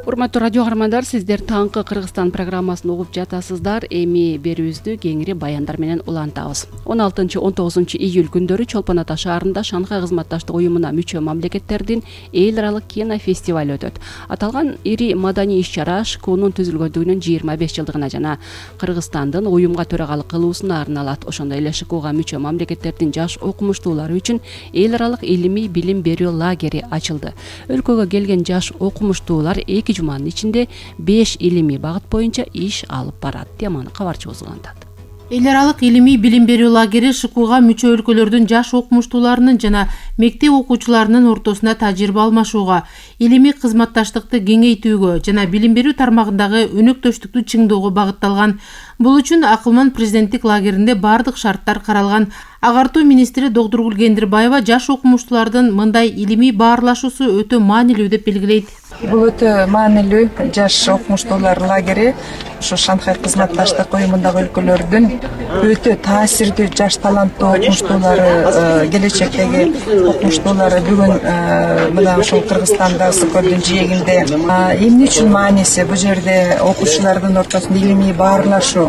Урматтуу радио каармандар, сиздер таңкы Кыргызстан программасын угуп жатасыздар. Эми берүүбүздү кеңири баяндар менен улантабыз. 16-19 июль күндөрү Чолпон Ата шаарында Шанхай кызматташтык уюмуна мүчө мамлекеттердин эл аралык кинофестиваль өтөт. Аталган ири маданий иш-чара ШКУнун түзүлгөндүгүнүн 25 жылдыгына жана Кыргызстандын уюмга төрагалык кылуусуна арналат. Ошондой эле ШКУга мүчө мамлекеттердин жаш окумуштуулары үчүн эл аралык илимий билим берүү лагери ачылды. Өлкөгө келген жаш окумуштуулар 2 жуманын ичинде 5 илимий багыт боюнча иш алып барат. Теманы кабарчыбыз улантат. Эл аралык илимий билим берүү лагери ШКУга мүчө өлкөлөрдүн жаш окумуштууларынын жана мектеп окуучуларынын ортосунда тажрыйба алмашууга, илимий кызматташтыкты кеңейтүүгө жана билим берүү тармагындагы өнөктөштүктү чыңдоого багытталган. Бул үчүн Акылман президенттик лагеринде бардык шарттар каралган. Агартуу министри Догдургул Кендирбаева жаш окумуштуулардын мындай илимий баарлашуусу өтө маанилүү деп белгилейт. Бул өтө маанилүү жаш окумуштуулар лагери ушу Шанхай кызматташтык уюмундагы өлкөлөрдүн өтө таасирдүү жаш таланттуу окумуштуулары, келечектеги окумуштуулары бүгүн мына ушул Кыргызстанда СКОдун жээгинде эмне үчүн мааниси? Бул жерде окуучулардын ортосунда илимий баарлашуу,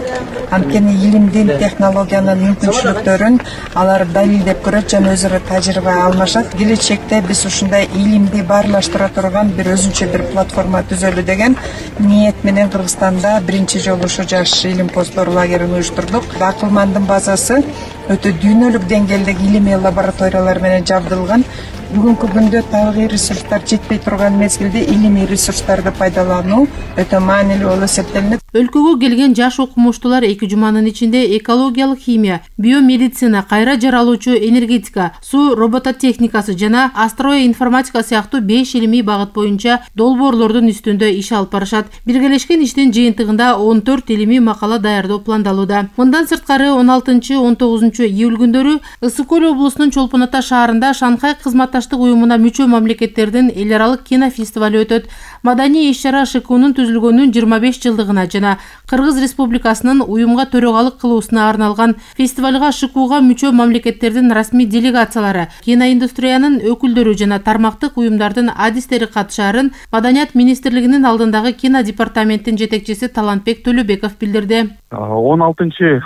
анткени илимдин, технологиянын мүмкүнчүлүктөрүн алар далилдеп көрөт жана өзүрө тажрыйба алмашат. Келечекте биз ушундай илимди баарлаштыра турган бир өзүнчө бир платформа түзөлү деген ниет менен Кыргызстанда биринчи жолу ушу жаш илим посттор лагерин уюштурдук. Акылмандын базасы өтө дүйнөлүк деңгээлдеги илимий лабораториялар менен жабдылган. Бүгүнкү күндө табигый ресурстар жетпей турган мезгилде илимий ресурстарды пайдалануу өтө маанилүү болуп эсептелинет. Өлкөгө келген жаш окумуштуулар 2 жуманын ичинде экологиялык химия, биомедицина, кайра жаралуучу энергетика, суу робототехникасы жана астроинформатика сыяктуу 5 илимий багыт боюнча долбоорлордун үстүндө иш алып барышат. Биргелешкен иштин жыйынтыгында 14 илимий макала даярдоо пландалууда. Мындан сырткары 16-19 июль күндөрү Ысык-Көл облусунун Чолпон Ата шаарында Шанхай кызматташтык уюмуна мүчө мамлекеттердин эл аралык кинофестиваль өтөт. Маданий иш-чара ШКУнун түзүлгөнүнүн 25 жылдыгына жана Кыргыз Республикасынын уюмга төрагалык кылуусуна арналган. Фестивалга ШКУга мүчө мамлекеттердин расмий делегациялары, киноиндустриянын өкүлдөрү жана тармактык уюмдардын адистери катышаарын Маданият министрлигинин алдындагы кино департаменттин жетекчиси Талантбек Төлөбеков билдирди. 16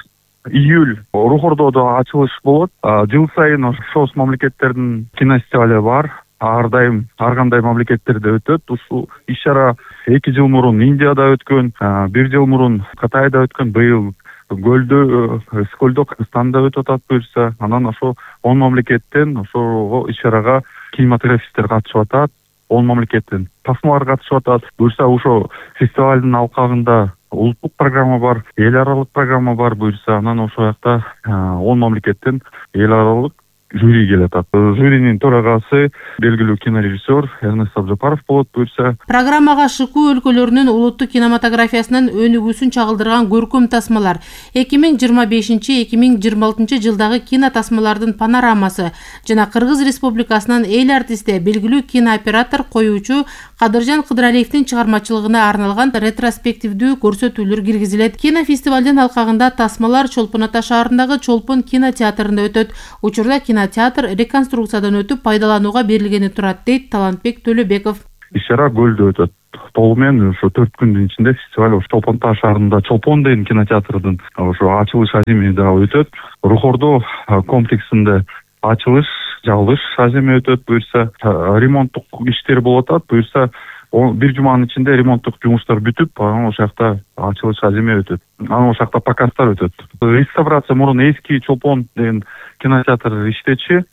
июль Рухордодо ачылыш болот. Жыл сайын ошол мамлекеттердин кинофестивали бар. Ар кандай мамлекеттерде өтөт. Ушул иш-чара 2 жыл мурун Индияда өткөн, 1 жыл мурун Кытайда өткөн, быйыл Ысык-Көлдө Кыргызстанда өтүп атат буюрса. Анан ошо 10 мамлекеттен ошого иш-чарага кинематографисттер катышып атат. 10 мамлекеттен тасмалар катышып атат. Буюрса ошо фестивалдын алкагында улуттук программа бар, эл аралык программа бар буюрса. Анан ошол жакта 10 мамлекеттен эл аралык жюри келет. Жюринин төрагасы белгилүү кинорежиссер Эрнест Абжапаров болот буюрса. Программага ШКУ өлкөлөрүнүн улуттук кинематографиясынын өнүгүүсүн чагылдырган көркөм тасмалар, 2025-2026 жылдагы кино тасмалардын панорамасы жана Кыргыз Республикасынын эл артисти, белгилүү кинооператор, коюучу Кадыржан Кыдыралиевдин чыгармачылыгына арналган ретроспективдүү көрсөтүүлөр киргизилет. Кинофестивалдын алкагында тасмалар Чолпон Ата шаарындагы Чолпон кинотеатрында өтөт. Учурда кинотеатр реконструкциядан өтүп пайдаланууга берилгени турат, дейт Талантбек Төлөбеков. Иш-чара Көлдө өтөт. Толугу ошо 4 күндүн ичинде фестиваль Чолпон Ата шаарында Чолпон деген кинотеатрдын ошо ачылыш аземи дагы өтөт. Рухордо комплексинде ачылыш, жабылыш аземи өтөт буюрса. Ремонттук иштер болуп атат буюрса. 1 жуманын ичинде ремонттук жумуштар бүтүп, анан ошол жакта ачылыш аземи өтөт. Анан ошол жакта показдар өтөт. Реставрация мурун эски Чолпон деген кинотеатр иштечи.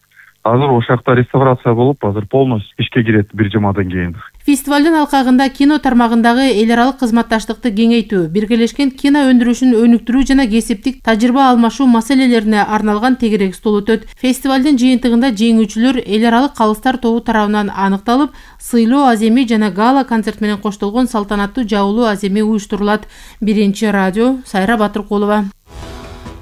Азыр ошол жакта реставрация болуп, азыр полностью ишке кирет 1 жумадан кийин. Фестивалдын алкагында кино тармагындагы эл аралык кызматташтыкты кеңейтүү, биргелешкен кино өндүрүшүн өнүктүрүү жана кесиптик тажрыйба алмашуу маселелерине арналган тегерек стол өтөт. Фестивалдын жыйынтыгында жеңүүчүлөр эл аралык калыстар тобу тарабынан аныкталып, сыйлоо аземи жана гала концерт менен коштолгон салтанаттуу жабылуу аземи уюштурулат. Биринчи радио, Сайра Батыркулова.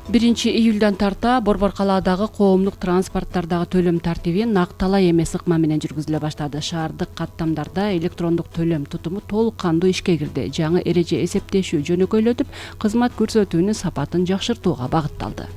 1 июльдан тарта Борбор калаадагы коомдук транспорттардагы төлөм тартиби накталай эмес ыкма менен жүргүзүлө баштады. Шаардык каттамдарда электрондук төлөм тутуму толук кандуу ишке кирди. Жаңы эреже эсептешүү жөнөкөйлөтүп, кызмат көрсөтүүнүн сапатын жакшыртууга багытталды.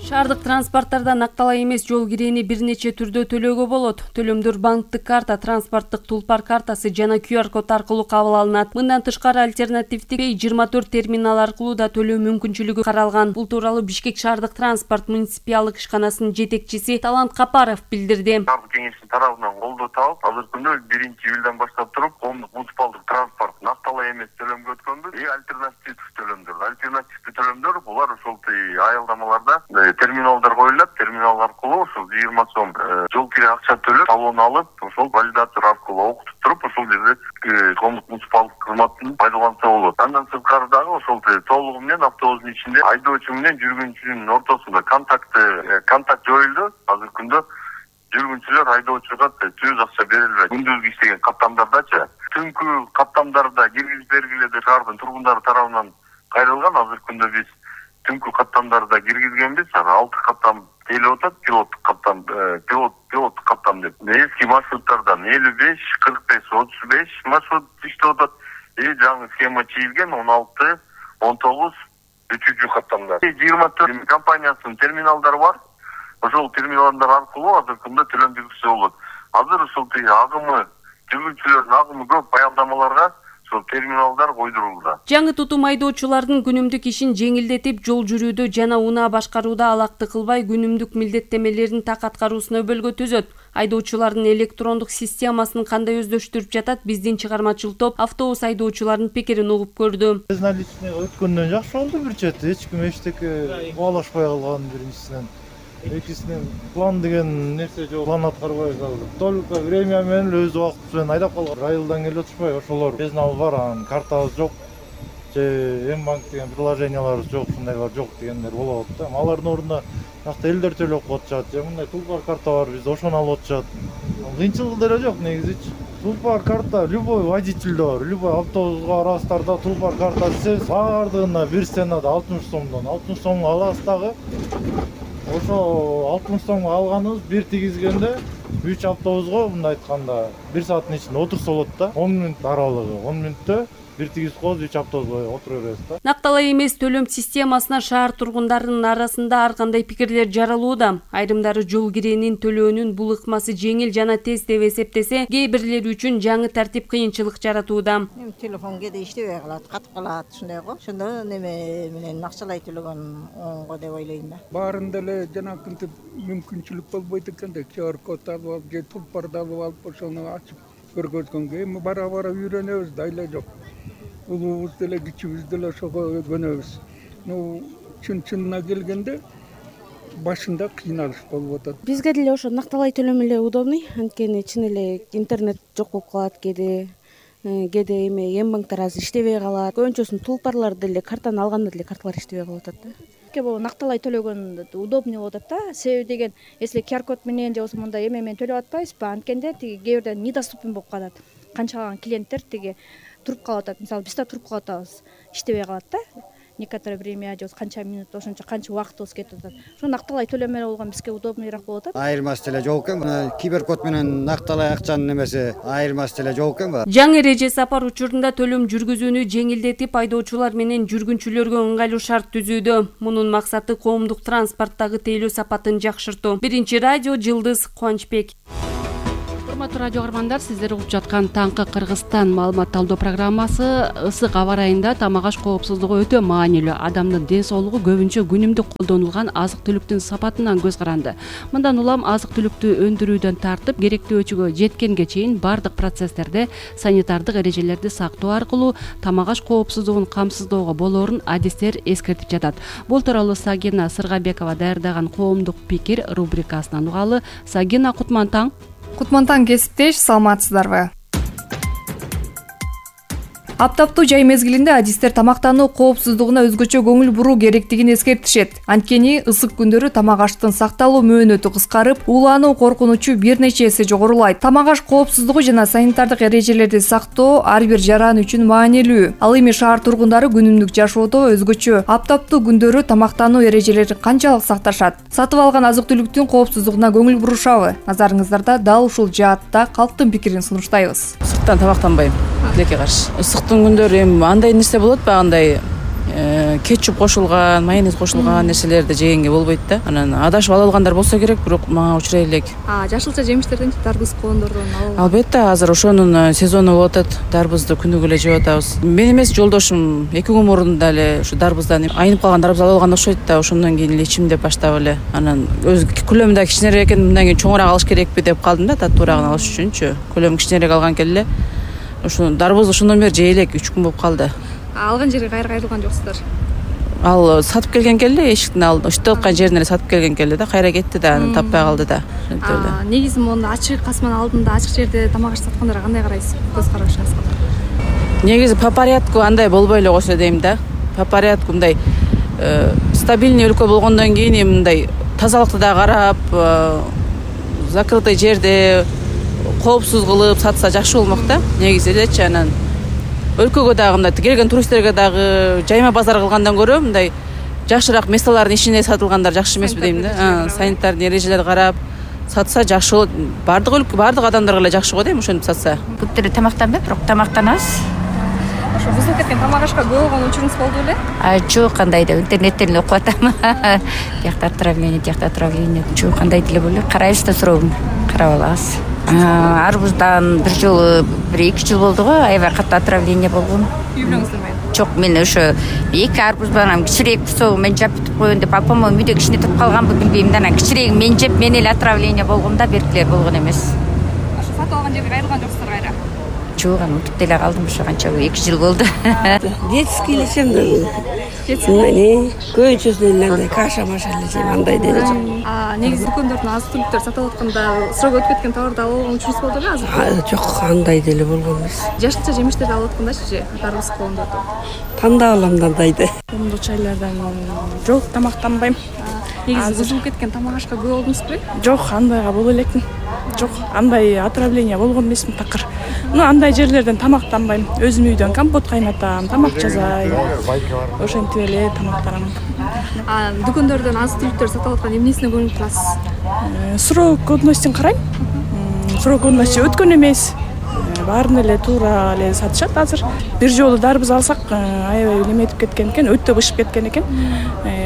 Шаардык транспорттарда накталай эмес жол киреени бир нече түрдө төлөөгө болот. Төлөмдөр банктык карта, транспорттук тулпар картасы жана QR код аркылуу кабыл алынат. Мындан тышкары альтернативдик 24 терминал аркылуу да төлөө мүмкүнчүлүгү каралган. Бул тууралуу Бишкек шаардык транспорт муниципалдык ишканасынын жетекчиси Талант Капаров билдирди. Шаардык кеңештин тарабынан колдоо табып, азыркы күндө 1-июлдан баштап туруп, коомдук муниципалдык транспорт накталай эмес төлөмгө өткөндү. Альтернативдик төлөмдөр булар ошол аялдамаларда терминалдар коюлат, терминал аркылуу ошол 20 сом жол кире акча төлөп, талон алып, ошол валидатор аркылуу окутуп туруп, ошол жерде коомдук муниципалдык кызматын пайдаланса болот. Андан сырткары дагы ошол толугу менен автобустун ичинде айдоочу менен жүргүнчүнүн ортосунда контакт жоюлду. Азыркы күндө жүргүнчүлөр айдоочуга түз акча берилбейт. Күндүзгү иштеген каттамдардачы, түнкү каттамдарда киргизип бергиле деп шаардын тургундары тарабынан кайрылган. Азыркы күндө биз түнкү каттамдарда киргизгенбиз. 6 каттам келип атат, пилоттук каттам деп. Эски маршруттардан 55, 45, 35 маршрут иштеп атат. Жаңы схема чийилген 16, 19 3 каттамдар. 24 компаниясынын терминалдары бар. Ошол терминалдар аркылуу азыркы күндө төлөм жүргүзсө болот. Азыр ошол агымы, жүргүнчүлөрдүн агымы көп аялдамаларга терминалдар койдурулду. Жаңы тутум айдоочулардын күнүмдүк ишин жеңилдетип, жол жүрүүдө жана унаа башкарууда алакты кылбай, күнүмдүк милдеттемелерин так аткаруусуна өбөлгө түзөт. Айдоочулардын электрондук системасын кандай өздөштүрүп жатат, биздин чыгармачыл топ автобус айдоочуларынын пикирин угуп көрдү. Безналичный өткөндөн жакшы болду бир чети. Эч ким эчтеке убалашпай калган биринчисинен. Экинчисинен план деген нерсе жок, план аткарбай калды. Только время менен өз убакыты менен айдап калган. Райылдан келип отушпай, ошолор безнал бар, анан картабыз жок. Же М-банк деген приложенияларыбыз жок, ушундайлар жок дегендер болот да. Алардын ордуна жакта элдер төлөп коюшат. Же мындай тулпар карта бар, бизде ошону алып отушат. Кыйынчылык деле жок негизичи. Тулпар карта любой водительде бар, любой автобусга барасыздарда тулпар карта десеңиз, баардыгына бир сенада 60 сомдон. 60 сомго аласыз дагы. Ошо 60 сомго алганыбыз бир тигизгенде 3 автобусга мындай айтканда 1 сааттын ичинде отурса болот да. 10 мүнөт аралыгы. 10 мүнөттө бир тигизип коебуз, 3 автобусга отура беребиз да. Накталай эмес төлөм системасына шаар тургундарынын арасында ар кандай пикирлер жаралууда. Айрымдары жол киреенин төлөөнүн бул ыкмасы жеңил жана тез деп эсептесе, кээ бирлери үчүн жаңы тартип кыйынчылык жаратууда. Телефон кээде иштебей калат, катып калат, ушундай го. Ошондо неме менен акчалай төлөгөн оңго деп ойлойм да. Баарында эле жанакынтип мүмкүнчүлүк болбойт экен да. QR код алып, же тулпарды алып, ошону ачып көргөзгөнгө эми бара үйрөнөбүз да, айла жок. Улуубуз деле кичибиз деле ошого көнөбүз. Чынына келгенде башында кыйналыш болуп атат. Бизге деле ошо накталай төлөм эле удобный, анткени чын эле интернет жок болуп калат кээде эме М-банктар азыр иштебей калат. Көбүнчөсүн тулпарлар деле картаны алганда деле карталар иштебей калып атат да. Бул накталай төлөгөн удобный болуп атат да. Себеби деген, если QR код менен же болбосо мындай эме менен төлөп атпайбызбы, анткенде кээ бирден недоступен болуп калат. Канчалаган клиенттер туруп калып атат. Мисалы биз да туруп калып атабыз, иштебей калат да. Некоторое время же канча минут, ошончо канча убактыбыз кетип атат. Ошо накталай төлөм менен болгон бизге удобныйраак болуп атат. Айырмасы деле жок экен. QR код менен накталай акчанын немеси айырмасы деле жок экен. Жаңы эреже сапар учурунда төлөм жүргүзүүнү жеңилдетип, айдоочулар менен жүргүнчүлөргө ыңгайлуу шарт түзүүдө. Мунун максаты коомдук транспорттагы тейлөө сапатын жакшыртуу. Биринчи радио Жылдыз Кубанычбек. Урматтуу радио каармандар, сиздер угуп жаткан Таңкы Кыргызстан маалымат талдоо программасы ысык аба ырайында тамак аш коопсуздугу өтө маанилүү. Адамдын ден соолугу көбүнчө күнүмдүк колдонулган азык-түлүктүн сапатынан көз каранды. Мындан улам азык-түлүктү өндүрүүдөн тартып, керектөөчүгө жеткенге чейин бардык процесстерде санитардык эрежелерди сактоо аркылуу тамак аш коопсуздугун камсыздоого болоорун адистер эскертип жатат. Бул тууралуу Сагина Сыргабекова даярдаган коомдук пикир рубрикасынан угалы. Сагина, кутман таң. Кутман таң кесиптеш, саламатсыздарбы? Аптаптуу жай мезгилинде адистер тамактануу коопсуздугуна өзгөчө көңүл буруу керектигин эскертишет. Анткени ысык күндөрү тамак аштын сакталуу мөөнөтү кыскарып, уулануу коркунучу бир нече эсе жогорулайт. Тамак аш коопсуздугу жана санитардык эрежелерди сактоо ар бир жаран үчүн маанилүү. Ал эми шаар тургундары күнүмдүк жашоодо өзгөчө аптаптуу күндөрү тамактануу эрежелерин канчалык сакташат? Сатып алган азык-түлүктүн коопсуздугуна көңүл бурушабы? Назарыңыздарда дал ушул жаатта калктын пикирин сунуштайбыз. Ысыктан тамактанбайм, тилекке каршы. Ысыктын күндөрү эми андай нерсе болот, багындай кетчуп кошулган, майонез кошулган нерселерди жегенге болбойт да. Анан адашып ала алгандар болсо керек, бирок мага учурай элек. Жашылча жемиштерден, дарбыз, коондордон Албетте, азыр ошонун сезону болуп атат. Дарбызды күнүгө эле жеп атабыз. Мен эмес, жолдошум 2 күн мурун дагы ушу дарбыздан айнып калган дарбыз ала алган окшойт да. Ошондон кийин эле ичим деп баштап эле. Анан өз көлөмү да кичинерээк экен, мындан кийин чоңураак алыш керекпи деп калдым да, таттуураагын алыш үчүнчү. Көлөмү кичинерээк алган келе. Ошо дарбызды ошондон бери жей элек, 3 күн болуп калды. Алган жерге кайрылган жоксуздар? Ал сатып келген келе, эшиктин алдына ошто аткан жерине эле сатып келген келе да, кайра кетти да, аны таппай калды да. Негизи мону ачык касманын алдында, ачык жерде тамак ашып саткандарга кандай карайсыз? Көз карашыңызга? Негизи по порядку андай болбой эле койсо дейм да. По порядку мындай стабильный өлкө болгондон кийин мындай тазалыкты да карап, закрытый жерде коопсуз кылып сатса жакшы болмок да. Негизи элечи, анан өлкөгө дагы мындай келген туристтерге дагы жайма базар кылгандан көрө мындай жакшыраак местолардын ичинде сатылгандар жакшы эмеспи дейм да. Санитардын эрежелерди карап сатса жакшы болот. Бардык адамдарга эле жакшы го дейм, ошентип сатса. Көптөрү тамактанбайт, бирок тамактанабыз. Ошо бузулуп кеткен тамак ашка көп болгон учуруңуз болду беле? Жок, кандай да интернеттен окуп атам. Тиякта отравление, жок, кандай деле боло. Карайбыз да, сурообун карап алабыз. Арбуздан бир жолу 1-2 жыл болду го, аябай катуу отравление болгон. Үй бүлөңүздөр менен? Жок, мен ошо 2 арбуз менен кичирээк кусогу мен жап бүтүп коеюн деп, апам үйдө кичине туруп калганбы билбейм да, анан кичирээк мен жеп, мен эле отравление болгом да, беркилер болгон эмес. Ошо сатып алган жерге кайрылган жоксуздар кайра? Жок, аны утуп деле калдым, ошо канча 2 жыл болду. Детский элечем да. Көйчөсүнөн андай каша-маша элечем, андай деле жок. Негизи дүкөндөрдөн азык түлүктөр сатып атканда срок өтүп кеткен товарды алып алган учуруңуз болду беле азыр? Жок, андай деле болгон эмес. Жашылча жемиштерди алып аткандачы, дарбыз, коондорду? Тандап алам да андайды. Коомдук чайлардан жок, тамактанбайм. Негизи бузулуп кеткен тамак ашка көп болдуңузбу? Жок, андайга боло элекмин. Жок, андай отравление болгон эмесмин такыр. Андай жерлерден тамактанбайм. Өзүм үйдөн компот кайнатам, тамак жасайм. Ошентип эле тамактанам. Дүкөндөрдөн азык түлүктөр сатып аткан эмнесине көңүл бурасыз? Срок годностьун карайм. Срок годности өткөн эмес. Баарын эле туура эле сатышат азыр. Бир жолу дарбыз алсак, аябай неметип кеткен экен, өтө бышып кеткен экен.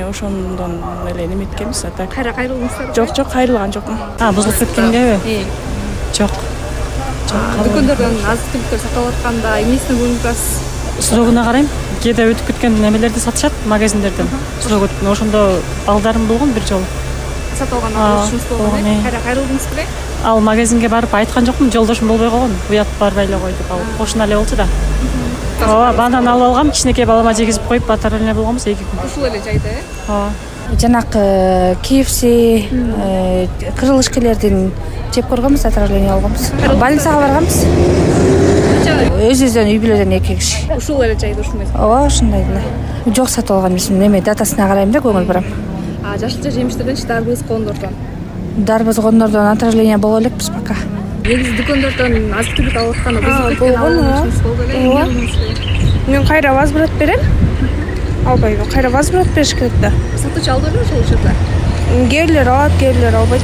Ошондон эле неметкенбиз. Кайра кайрылдыңыздар? Жок, кайрылган жокмун. Бузулуп кеткенгеби? Жок. Дүкөндөрдөн азык түлүктөр сатып атканда эмнесине көңүл бурасыз? Срогуна карайм. Кээде өтүп кеткен немелерди сатышат магазиндерден. Срок өткөн, ошондо балдарым болгон бир жолу. Сатып алган учуруңуз болгон, кайра кайрылдыңызбы? Ал магазинге барып айткан жокмун, жолдошум болбой калган. Уят барбай эле кой деп, ал кошуна эле болчу да. Ооба, банан алып алгам, кичинекей балама жегизип коюп отравление болгонбуз 2 күн. Ушул эле жайда, Ооба. Жанакы KFC, крылышкалердин жеп көргөнбүз, отравление болгонбуз. Больницага барганбыз. Өзүбүздөн үй бүлөдөн 2 киши. Ушул эле жайда ушундай. Ооба, ушундай эле. Жок, сатып алган эмесмин, эме датасына карайм да, көңүл бурам. Жашылча жемиштерденчи, дарбыз, коондордон? Дарбыз, коондордон отравление боло элекпиз пока. Негизи дүкөндөрдөн азык түлүк алып атканда бузулуп кеткен учуруңуз болду беле? Мен кайра возврат берем. Албайбы, кайра возврат бериш керек да. Сатуучу алды беле ошол учурда? Кээрлер алат, кээрлер албайт.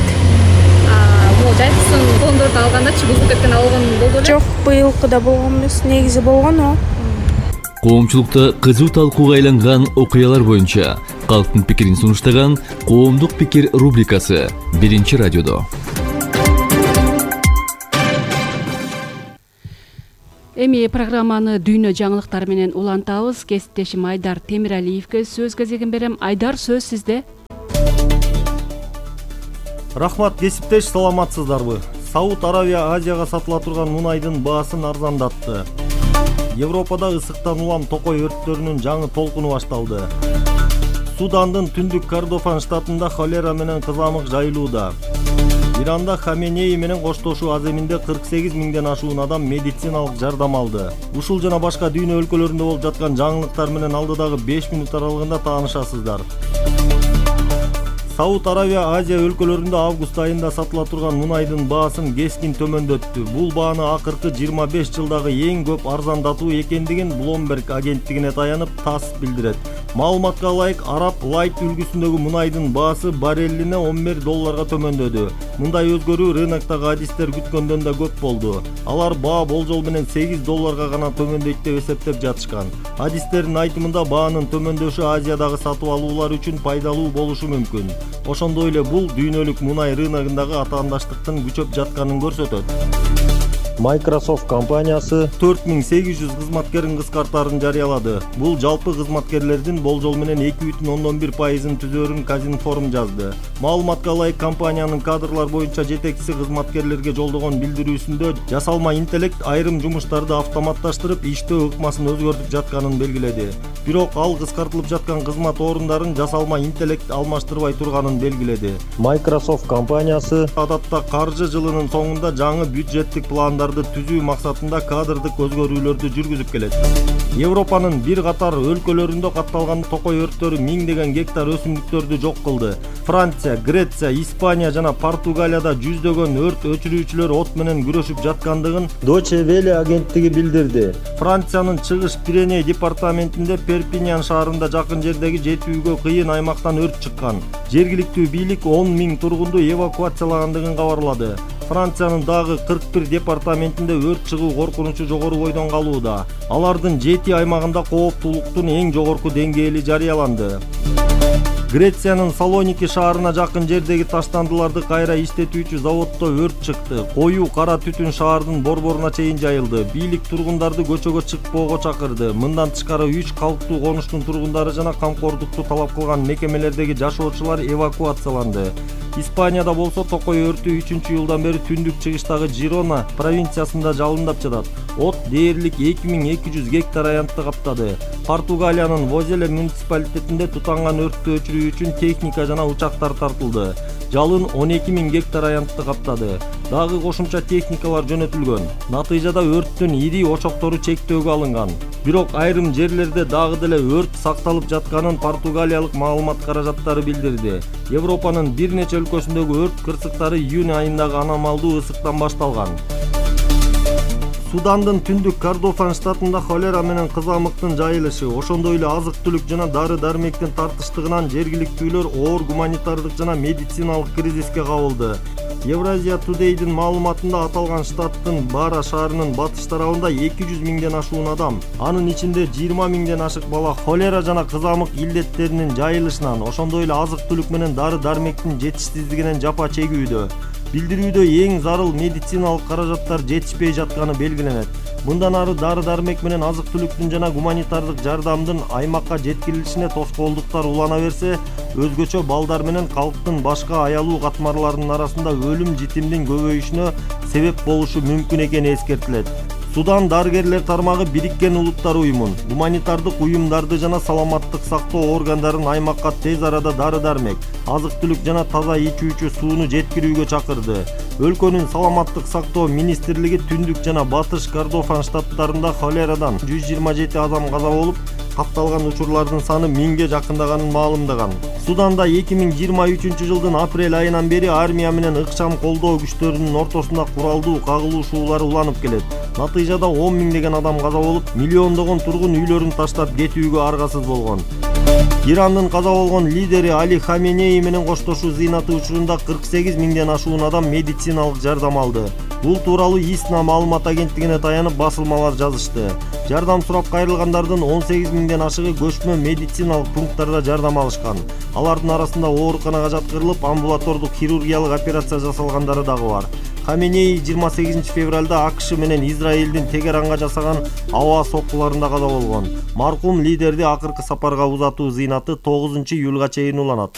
Могу жайсыз коондорду алгандачы бузулуп кеткен алган болду беле? Жок, быйылкыда болгон эмес, негизи болгон о. Коомчулукта кызуу талкууга айланган окуялар боюнча калктын пикирин сунуштаган Коомдук пикир рубрикасы 1-радиодо. Эми программаны дүйнө жаңылыктары менен улантабыз. Кесиптешим Айдар Темиралиевге сөз кезегин берем. Айдар, сөз сизде. Рахмат, кесиптеш, саламатсыздарбы? Сауд Аравия Азияга сатыла турган мунайдын баасын арзандатты. Европада ысыктан улам токой өрттөрүнүн жаңы толкуну башталды. Судандын түндүк Кордофан штатында холера менен кызамык жайылууда. Иранда Хаменеи менен коштошуу аземинде 48 миңден ашуун адам медициналык жардам алды. Ушул жана башка дүйнө өлкөлөрүндө болуп жаткан жаңылыктар менен алдыдагы 5 мүнөт аралыгында таанышасыздар. Сауд Арабия Азия өлкөлөрүндө август айында сатыла турган мунайдын баасын кескин төмөндөттү. Бул бааны акыркы 25 жылдагы эң көп арзандатуу экендигин Bloomberg агенттигине таянып ТАСС билдирет. Маалыматка ылайык, Arab Light үлгүсүндөгү мунайдын баасы баррелине $11 төмөндөдү. Мындай өзгөрүү рыноктогу адистер күткөндөн да көп болду. Алар баа болжол менен $8 гана төмөндөйт деп эсептеп жатышкан. Адистердин айтымында баанын төмөндөшү Азиядагы сатып алуулар үчүн пайдалуу болушу мүмкүн. Ошондой эле бул дүйнөлүк мунай рыногундагы атаандаштыктын күчөп жатканын көрсөтөт. Microsoft компаниясы 4800 кызматкерин кыскартаарын жарыялады. Бул жалпы кызматкерлердин болжол менен 2,1%-ын түзөрүн Казинформ жазды. Маалыматка ылайык, компаниянын кадрлар боюнча жетекчиси кызматкерлерге жолдогон билдирүүсүндө жасалма интеллект айрым жумуштарды автоматташтырып, иштөө ыкмасын өзгөртүп жатканын белгиледи. Бирок ал кыскартылып жаткан кызмат орундарын жасалма интеллект алмаштырбай турганын белгиледи. Microsoft компаниясы адатта каржы жылынын соңунда жаңы бюджеттик пландарды түзүү максатында кадрдык өзгөрүүлөрдү жүргүзүп келет. Европанын бир катар өлкөлөрүндө катталган токой өрттөрү миңдеген гектар өсүмдүктөрдү жок кылды. Франция, Греция, Испания жана Португалияда жүздөгөн өрт өчүрүүчүлөр от менен күрөшүп жаткандыгын Deutsche Welle агенттиги билдирди. Франциянын чыгыш Пиреней департаментинде Перпиньян шаарында жакын жердеги жетүүгө кыйын аймактан өрт чыккан. Жергиликтүү бийлик 10 000 тургунду эвакуациялагандыгын кабарлады. Франциянын дагы 41 департаментинде өрт чыгуу коркунучу жогору бойдон калууда. Алардын 7 аймагында кооптуулуктун эң жогорку деңгээли жарыяланды. Грециянын Салоники шаарына жакын жердеги таштандыларды кайра иштетүүчү заводдо өрт чыкты. Коюу кара түтүн шаардын борборуна чейин жайылды. Бийлик тургундарды көчөгө чыкпоого чакырды. Мындан тышкары 3 калктуу конуштун тургундары жана камкордукту талап кылган мекемелердеги жашоочулар эвакуацияланды. Испанияда болсо токой өртү 3-июлдан бери түндүк чыгыштагы Жирона провинциясында жалындап жатат. От дээрлик 2200 гектар аянтты каптады. Португалиянын Возеле муниципалитетинде тутанган өрттү өчүрүү үчүн техника жана учактар тартылды. Жалын 12 000 гектар аянтты каптады. Дагы кошумча техникалар жөнөтүлгөн. Натыйжада өрттүн ири очоктору чектөөгө алынган. Бирок айрым жерлерде дагы деле өрт сакталып жатканын португалиялык маалымат каражаттары билдирди. Европанын бир нече өлкөсүндөгү өрт кырсыктары июнь айындагы аномалдуу ысыктан башталган. Судандын түндүк Кордофан штатында холера менен кызамыктын жайылышы, ошондой эле азык-түлүк жана дары-дармектин тартыштыгынан жергиликтүүлөр оор гуманитардык жана медициналык кризиске кабылды. Евразия Today'дин маалыматында аталган штаттын Бара шаарынын батыш тарабында 200 000ден ашуун адам, анын ичинде 20 000ден ашык бала холера жана кызамык илдеттеринин жайылышынан, ошондой эле азык-түлүк менен дары-дармектин жетишсиздигинен жапа чегүүдө. Билдирүүдө эң зарыл медициналык каражаттар жетишпей жатканы белгиленет. Мындан ары дары-дармек менен азык-түлүктүн жана гуманитардык жардамдын аймакка жеткирилишине тоскоолдуктар улана берсе, өзгөчө балдар менен калктын башка аялуу катмарларынын арасында өлүм-житимдин көбөйүшүнө себеп болушу мүмкүн экени эскертилет. Судан дарыгерлер тармагы Бириккен Улуттар уюмун, гуманитардык уюмдарды жана саламаттык сактоо органдарын аймакка тез арада дары-дармек, азык-түлүк жана таза ичүүчү сууну жеткирүүгө чакырды. Өлкөнүн саламаттык сактоо министрлиги түндүк жана батыш Кордофан штаттарында холерадан 127 адам каза болуп, катталган учурлардын саны 1000ге жакындаганын маалымдаган. Суданда 2023 жылдын апрель айынан бери армия менен ыкчам колдоо күчтөрүнүн ортосунда куралдуу кагылышуулар уланып келет. Натыйжада 10 000деген адам каза болуп, миллиондогон тургун үйлөрүн таштап кетүүгө аргасыз болгон. Ирандын каза болгон лидери Али Хаменеи менен коштошуу зыйнаты учурунда 48 000ден ашуун адам медициналык жардам алды. Бул тууралуу ИСНА маалымат агенттигине таянып басылмалар жазышты. Жардам сурап кайрылгандардын 18 000ден ашыгы көчмө медициналык пункттарда жардам алышкан. Алардын арасында ооруканага жаткырылып, амбулатордук хирургиялык операция жасалгандары дагы бар. Хаменеи 28 февралда АКШ менен Израилдин Тегеранга жасаган аба соккуларында каза болгон. Маркум лидерди акыркы сапарга узатуу зыйнаты 9 июлга чейин уланат.